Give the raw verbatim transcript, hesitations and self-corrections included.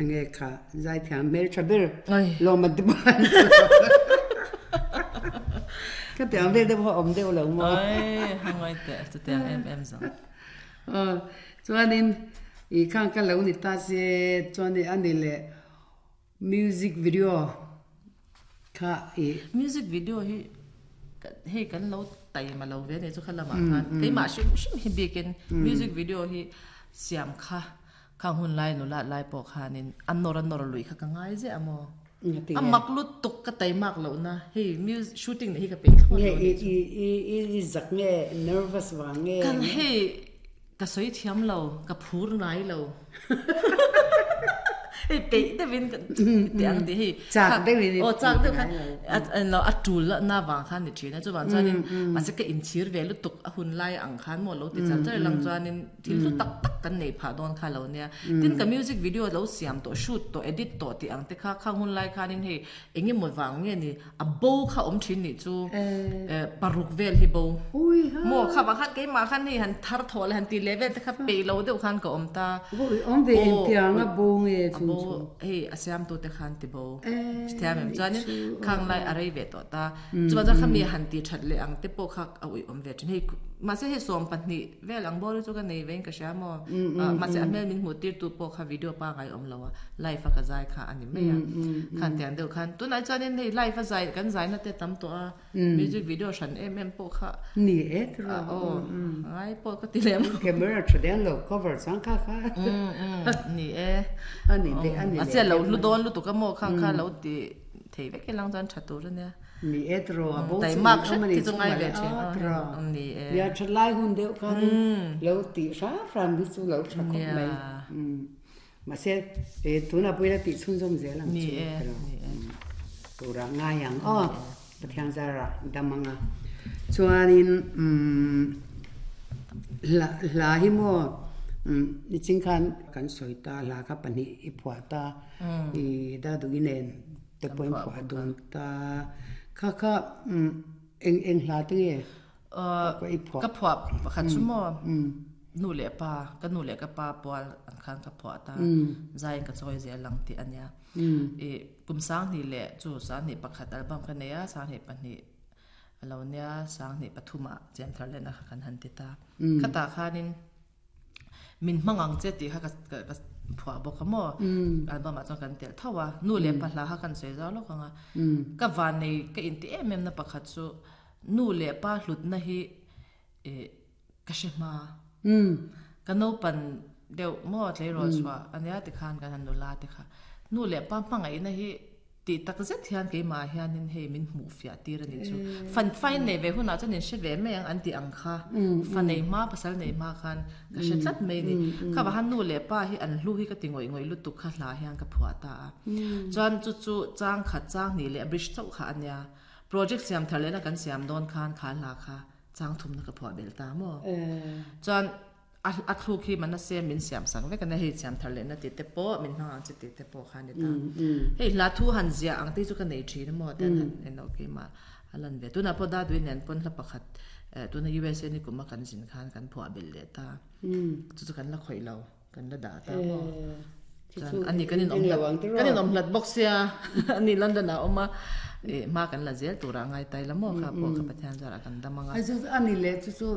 Enge kha zaithiam hmeltha ber lawm an ti bawk a. Ka tiang vel deuh pawh a awm deuh lo maw? Oi, hangawi teh chutiang em em zawng. Aw, chuanin i khang ka lo ni ta se chuanin a ni leh music video kha i. Music video hi hei kan lo taima lo ve nih chu kha lamah khan keimah hrim hrim hi bikin music video hi siam kha khang hun lai nula lai pawh khanin a nawr a nawr lui kha ka ngai ziah a maw? A mak lutuk ka taimak lohna hei music shooting nih hi ka peih thlawt lo nih chu. Nge i i zak nge nervous vang nge? Kan hei ka sawi thiam lo ka phur ngai lo. Hei peih deuhin ka ti ang tih hei chak deuhin aw chak deuh khan a a tul na vang khan ni thin a chuvang chuanin mahse ka inchhir ve lutuk a hun lai ang khan maw lo ti char char lang chuanin thil hlu tak tak kan nei phah dawn kha lo nia tin ka music video lo siam tawh shoot tawh edit tawh tih ang te kha khang hun lai khanin hei eng emaw vang nge ni a bo kha awm thin nih chu paruk vel hi bo maw kha vang khan keimah khan hei han thar thawh leh han ti leh vel te kha peih lo deuh khan ka awm ta. Ui awm ve engtiang a bo nge chu chu? A bo hei a siamtute khan ti bo thiam em chuanin khang lai a rei ve tawh ta. Chuvang chuan khami han ti that leh ang te pawh kha a ui awm ve thin. Hei mahse hei sawm pahnih vel ang bawr hi chu ka nei vein ka hria maw? Mahse a hmel min hmuh tirtu pawh kha video pangai awm lo a, live a ka zai kha a ni mai a. Khan tiang deuh khan tunah chuanin hei live a zai kan zaina te tam tawh a. Music video hran em em pawh kha. Ni e tiraw. Aw ngai pawh ka ti lem. Camera tha deng lo cover chuan kha kha. Ni e. A ni leh a ni leh. A sia lo hlu dawn lutuk a maw kha kha lo ti thei vek ilang chuan tha tur a nia. Ni e tiraw a bo chu Taimak hret khi chu ngai ve thin. Tiraw. Ni e. Nia tha lai hun deuh khan lo ti hram hram hi chu lo tha khawp mai. Mahse tunah pawh ila tih chhunzawm zel ang chu tiraw. Tura ngai ang aw. Pathian zara dam anga chuanin umm hla hla hi maw umm niching khan kan sawi ta hla kha pahnih i phuah ta i Daduhi nen te pawhin phuah dun ta kha kha umm eng eng hla te nge i phuah ka phuah pakhat chu maw nu leh pa ka nu leh ka pa pual ang khan ka phuah ta zaiin ka chawi zel ang tih a nia. I kum sanghnih leh chu sanghnih pakhat album ka nei a, sanghnih pahnih a lo nia, sanghnih pathumah chian thar lehna kha kan han ti ta. Khatah khanin min hmang ang che tih kha ka ka phuah bawk a maw? Album ah chuan kan telh tho a, nu leh pa hla kha kan sawi zau lawk ang a. Ka vannei ka inti em em na pakhat chu nu leh pa hlutna hi ih ka hre hma. Ka naupan deuh maw tleirawl chhuah a nia tikhan kan han nula te kha. Nu leh pa hmangaihna hi tih tak zet hian keimah hianin hei min hmuh fiah tir a nih chu. Fan fain nei ve hunah chuan in hre ve mai ang an tih ang kha. Fa nei hma pasal nei hma khan ka hre tlat mai a ni. Kha vah khan nu leh pa hi an hlu hi ka ti ngawih ngawih lutuk kha hla hian ka phuah ta a. Chuan chu chu chang khat chang hnih leh bridge chauh kha a nia. Project siam thar lehna kan siam dawn khan kha hla kha chang thumna ka phuah bel ta maw? Chuan a a thluk hi Manase min siam sak vek a nia, hei siam thar lehna tih te pawh min hmang ang chi tih te pawh kha a ni ta. Hei hla thu han ziah ang te hi chu ka nei thin a maw tian han en loh keimah a lan ve. Tunah pawh Dadui nen pawn hla pakhat tuna U S A ni kuma kan zin khan kan phuah belh leh ta. Chu chu kan la khawih lo, kan la dah ta maw? Chuan ani kan inawm hlat kan inawm hlat bawk sia ani London ah a awm a ih hma kan la zel turah a ngai tai la maw kha pawh kha Pathian zarah kan dam ang a. Ani leh chu chu